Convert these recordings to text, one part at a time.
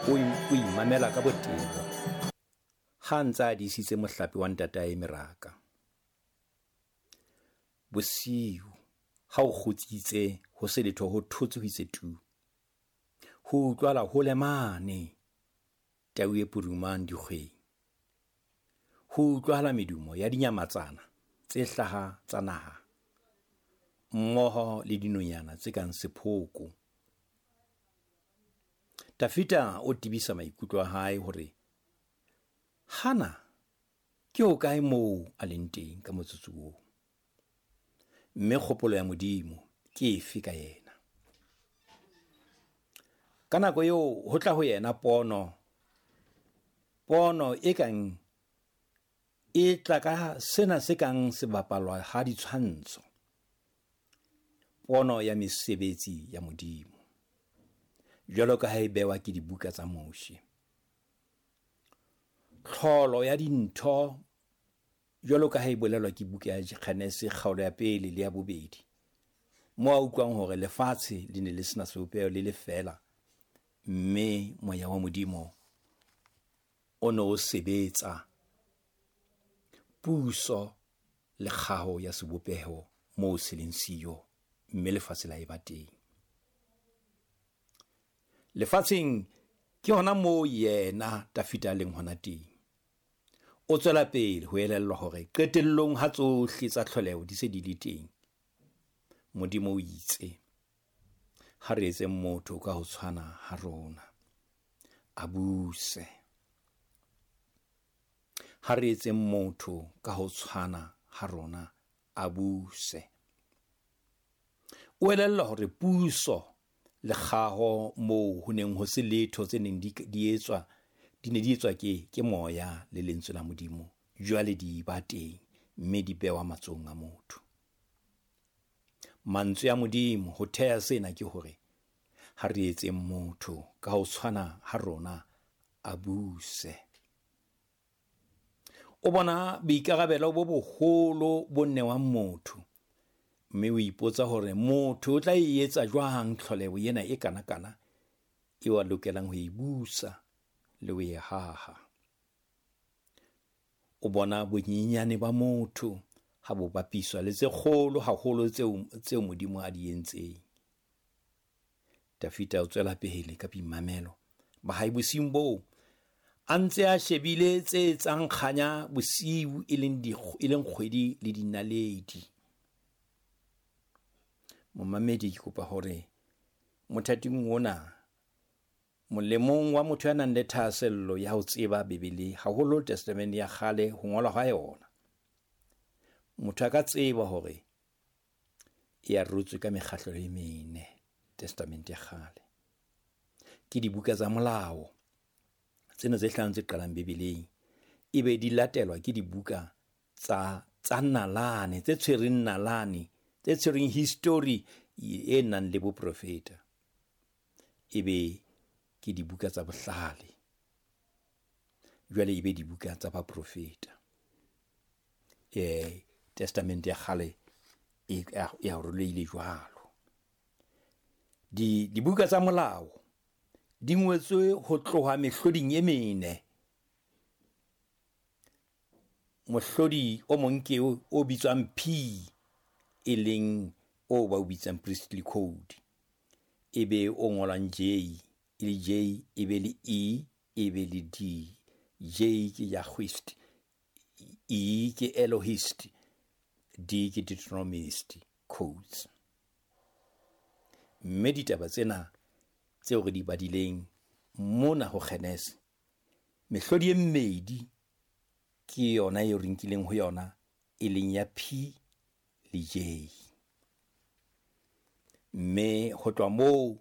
O imamela ka botebo ha a ntse a disitse mohlape wa ntatae meraka. Bosiu ha o kgutsitse ho se letho ho thotse ho itse tu. Ho utlwala hole mane tau e purumang dikgweng. Ho utlwahala medumo ya dinyamatsana tse hlaha tsa naha mmoho le dinonyana tse kang sephoko. Tafita o tebisa maikutlo a hae hore hana ke hokae moo a leng teng ka motsotso oo, mme kgopolo ya Modimo ke efe ka yena. Ka nako eo ho tla ho yena pono, pono e kang e tla ka sena se kang sebapalwa ha ditshwantsho, pono ya mesebetsi ya Modimo jwalo ka ha e bewa ke dibuka tsa Moshe. Tlholo ya dintho jwalo ka ha e bolelwa ke buka ya Genese kgaolo ya pele le ya bobedi, mo a utlwang hore lefatshe le ne le sena sebopeho le le feela, mme moya wa Modimo o ne o sebetsa puso le kgaho ya sebopeho moo se leng siyo, mme lefatshe la eba teng. Lefatsheng ke hona moo yena Tafita a leng hona teng. O tswela pele ho elellwa hore qetellong ha tsohle tsa tlholeho di se di le teng, Modimo o itse, ha re etseng motho ka ho tshwana ha rona, a buse. Ha re etseng motho ka ho tshwana ha rona, a buse. O elellwa hore puso le kgaho moo ho neng ho se letho tse neng di etswa, di ne di etswa ke moya le lentswe la Modimo, jwale di ba teng mme di bewa matsohong a motho. Mantswe a Modimo ho theha sena ke hore ha re etseng motho ka ho tshwana ha rona, a buse. O bona boikarabelo bo boholo bo newang motho, mme o ipotsa hore motho o tla e etsa jwang tlholeho ena e kanakana eo a lokelang ho e busa le ho e haha. O bona bonyenyane ba motho ha bo bapiswa le tse kgolo haholo tseo Modimo a di entseng. Tafita o tswela pele ka boimamelo ba hae bosiung boo, a ntse a shebile tse etsang kganya bosiu, e leng kgwedi le dinaledi. Momamedi, ke kopa hore mothating ona, molemong wa motho ya nang le thahasello ya ho tseba Bibele, haholo Testamente ya kgale, ho ngolwa ha yona, motho a ka tseba hore e arotswe ka mekgahlo e mene. Testamente ya kgale ke dibuka tsa molao tsena tse hlano tse qalang Bibeleng, ebe di latelwa ke dibuka tsa nalane, tse tshwereng nalane, tse tshwereng history e nang le boprofeta, ebe ke dibuka tsa bohlale, jwale ebe dibuka tsa baprofeta. Testamente ya kgale e arolehile jwalo. Dibuka tsa molao di ngotswe ho tloha mehloding e mene. Mohlodi o mong ke o bitswang P, e leng o ba o bitsang Priestly Code, ebe o ngolwang J, e le J, ebe le E, ebe le D. J ke Yahwist, E ke Elohist, D ke Deuteronomist codes. Mme ditaba tsena tseo re di badileng mona ho Genese, mehlodi e mmedi ke yona eo re nkileng ho yona, e leng ya P le J. Mme ho tloha moo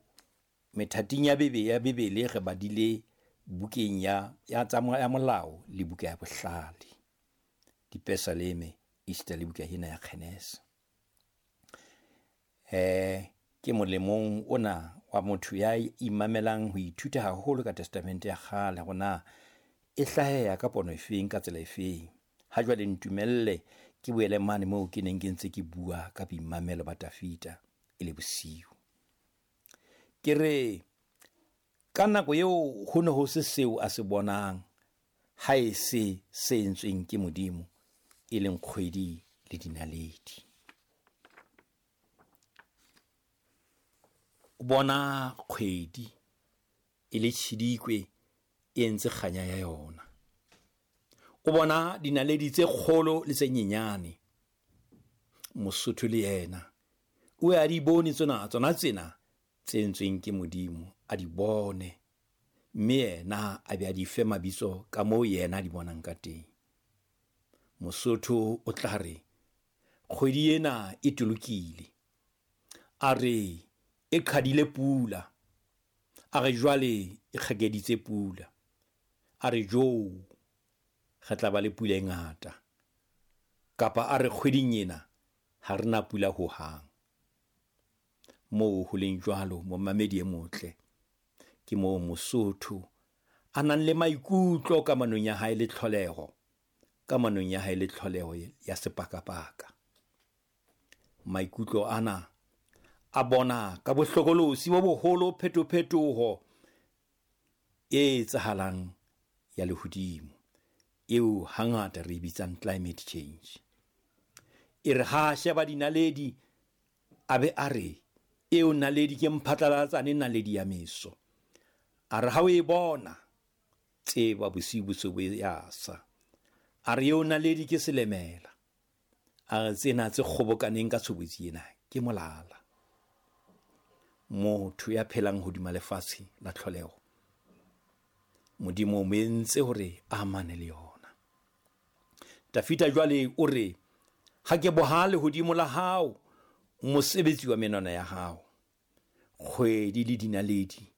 methating ya Bibele re badile bukeng ya ya molao le buka ya bohlale, Dipesaleme, esita le buka ena ya Genese. Ke molemong ona wa motho ya imamelang ho ithuta haholo ka Testamente ya kgale, hore na e hlaheha ka pono efeng, ka tsela efeng. Ha jwale ntumelle ke boele mane moo ke neng ke ntse ke bua ka boimamelo ba Tafita e le bosiu. Ke re Ka nako eo ho ne ho se seo a se bonang ha e se se entsweng ke Modimo, e leng kgwedi le dinaledi. O bona kgwedi e le tjhidikwe e entse kganya ya yona. O bona dinaledi tse kgolo le tse nyenyane. Mosotho le yena o a di bone tsona tsona tsena tse entsweng ke Modimo, a di bone, mme yena a be a di fe mabitso ka moo yena a di bonang ka teng. Mosotho o tla re kgwedi ena e tolokile, a re e qhadile pula, a re jwale e kgakeditse pula, a re jo re tla ba le pula e ngata, kapa a re kgweding ena ha re na pula hohang. Moo ho leng jwalo, momamedi e motle, ke moo Mosotho a nang le maikutlo kamanong ya hae le tlholeho, kamanong ya hae le tlholeho ya sepakapaka. Maikutlo ana a bona ka bohlokolosi bo boholo phetophetoho e etsahalang ya lehodimo, eo hangata re e bitsang climate change. E re ha a sheba dinaledi, a be a re eo naledi ke mphatlalatsane naledi ya meso. A re ha o e bona, tseba bosiu bo se bo ya sa. A re eo naledi ke selemela. A re tsena tse kgobokaneng ka tshobotsi ena ke molala. Motho ya phelang hodima lefatshe la tlholeho, Modimo o mo entse hore a amane le yona. Dafida jwale o re, ha ke boha lehodimo la hao, mosebetsi wa menwana ya hao, kgwedi le dinaledi